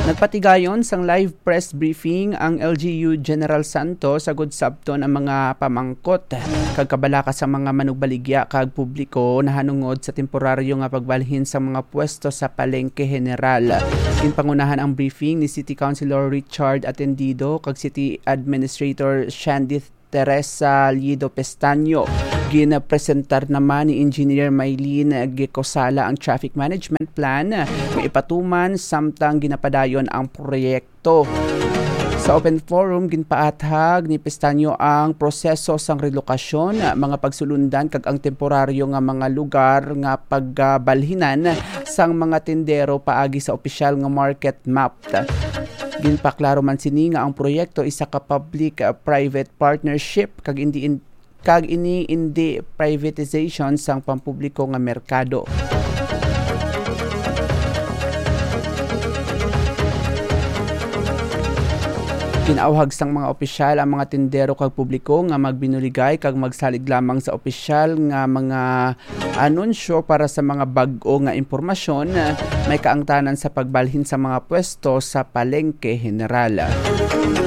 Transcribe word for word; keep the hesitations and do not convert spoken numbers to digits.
Nagpatigayon sang live press briefing ang L G U General Santos agud sabton ang mga pamangkot kag kabalaka sa mga manugbaligya kag publiko nahanungod sa temporaryo nga pagbalhin sa mga pwesto sa Palengke General. Ginpangunahan ang briefing ni City Councilor Richard Atendido kag City Administrator Shandy Teresa Lido Pestaño. Ginapresentar naman ni Engineer Mylene Gecosala ang traffic management plan nga ipatuman samtang ginapadayon ang proyekto. Sa open forum, ginpaathag ni Pestaño ang proseso sang relokasyon, mga pagsulundan kag ang temporaryo nga mga lugar nga pagbalhinan sang mga tindero paagi sa opisyal nga market map. Ginpaklaro man sini nga ang proyekto isa ka public-private partnership kag indi in-, kag ini indi privatization sang pampubliko nga merkado. Ginauhag sang mga opisyal ang mga tindero kag publiko nga magbinuligay kag magsalig lamang sa opisyal nga mga anunsyo para sa mga bag-o nga impormasyon, may kaangtanan sa pagbalhin sa mga pwesto sa Palengke General.